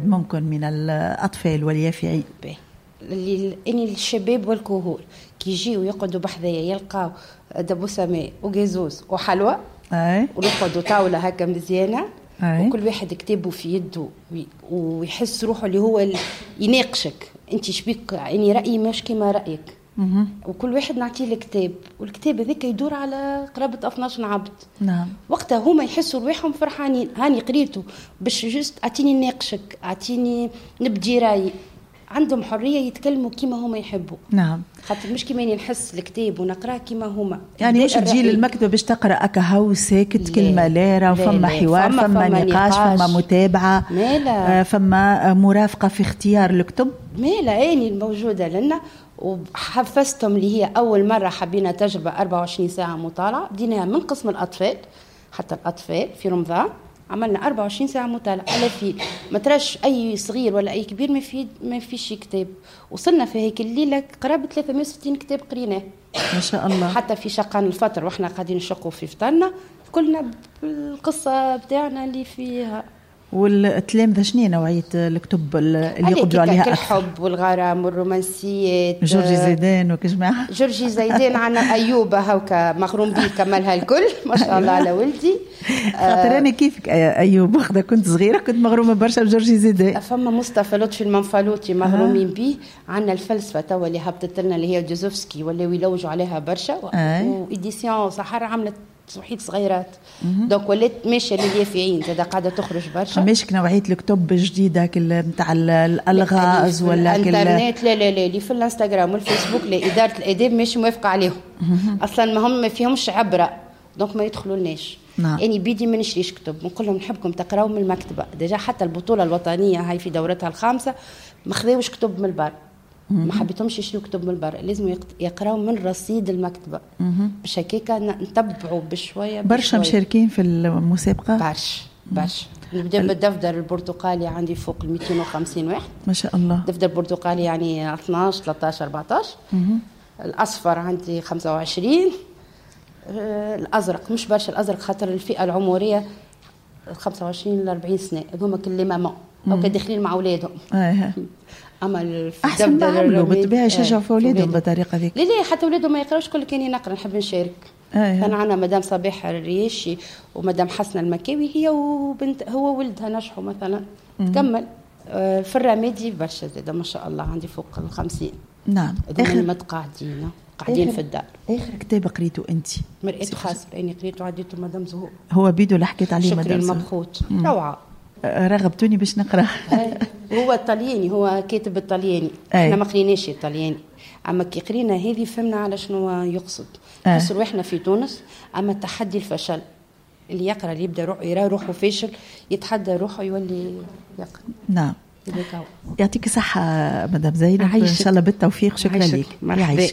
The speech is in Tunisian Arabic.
ممكن من الاطفال واليافعين؟ اللي اني الشباب والكهول كي يجيو يقعدوا بحذايا يلقاو دبوسه ماء وجازوز وحلوى ونقعدوا طاولة هكا مزيانه. وكل واحد كتابه في يده ويحس روحه اللي هو يناقشك، انت شبيك، يعني رايي مش كيما رايك. وكل واحد نعطيه الكتاب، والكتاب هذاك يدور على قرابة 12 عبد. وقتها هما يحسوا رواحهم فرحانين، هاني قريته باش juste اعطيني نناقشك، اعطيني نبدي رايي. عندهم حرية يتكلموا كيما هما يحبوا. خاطر مش كيما نحس الكتاب ونقراه كيما هما. يعني مش تجي للمكتبه باش تقرا اكا ساكت كلمة لا، فما حوار، فما نقاش، فما متابعه، فما مرافقة في اختيار الكتب. مالا اني الموجودة لنا وحفزتهم اللي هي اول مرة حبينا تجربه 24 ساعة مطالعه، بديناها من قسم الاطفال حتى الاطفال في رمضان عملنا 24 ساعة مطالعة على في ما تراش أي صغير ولا أي كبير ما فيش كتاب. وصلنا في هيك الليلة قرابة 360 كتاب قريناه ما شاء الله. حتى في شقان الفطر واحنا قاعدين نشقوا في فطرنا كلنا بالقصة بتاعنا اللي فيها. والتلامذة شنو نوعية الكتب اللي يقبلوا عليها أكثر؟ الحب والغرام والرومانسيات. جورجي زيدان وكجماعة. جورجي زيدان عنا أيوب هاوكا مغروم بيه كملها الكل ما شاء الله على ولدي. خاطر أنا كيفك أيوب وقتها كنت صغيرة كنت مغرومة برشا بجورجي زيدان. فما مصطفى لطفي المنفلوطي مغرومين بيه. عنا الفلسفة توا اللي هبطت لنا اللي هي جوزوفسكي ولاو يلوجوا عليها برشا، و édition سحر عملت وحيد صغيرات donc ولات ماشية لليافعين زاد قاعدة تخرج برشا. ماشي نوعية الكتب الجديدة نتاع الالغاز ولا الانترنت؟ لا لا لا، اللي في الانستغرام والفيسبوك لا، ادارة الاداب ماشي موافقة عليهم اصلا، ما هم ما فيهمش عبره donc ما يدخلولناش. يعني بيدي ما نشريش كتب، نقول لهم نحبكم تقراو من المكتبة. déjà حتى البطولة الوطنية هاي في دورتها الخامسة ما خذاوش كتب من البر، ما حبيتهمش يشريوا كتب من البر، لازم يقراو من رصيد المكتبة باش هكاكا نتبعوا بشوية. برشا مشاركين في المسابقة؟ برشا برشا. نبدا بالدفتر البرتقالي عندي فوق ال 250 واحد ما شاء الله. الدفتر البرتقالي يعني 12 13 14. الاصفر عندي 25. الازرق مش برشا، الازرق خاطر الفئة العمرية 25 ل 40 سنة هذوما كل mamans او داخلين مع اولادهم. اما احسن ما عملوا بالطبيعة يشجعوا في اولادهم بالطريقة ذيك. لا لا، حتى اولادهم ما يقراوش، كل كان نقرا نحب نشارك. كان عندنا مدام صباح الرياشي ومدام حسنه المكاوي، هي وبنت هو ولدها نجحوا مثلا. تكمل في الرمادي برشا زاده ما شاء الله عندي فوق ال 50. نعم. اخر متقاعدين قاعدين في الدار. اخر كتاب قريته انت؟ مرآة خاص لاني قريته عديته مدام زهور. هو بيدو اللي حكيت عليه مدام زهور. المبخوت روعه. رغبتوني باش نقرا. هو الطلياني، هو كاتب الطلياني. احنا ما قريناش الطلياني، اما كي قرينا هذه فهمنا على شنو يقصد. نحس روحنا في تونس، اما التحدي الفشل اللي يقرا اللي يبدا يرى روحه فاشل يتحدى روحه يولي يقرا. نعم. يعطيك الصحة مدام زينب، ان شاء الله بالتوفيق. شكرا لك. مرحبا.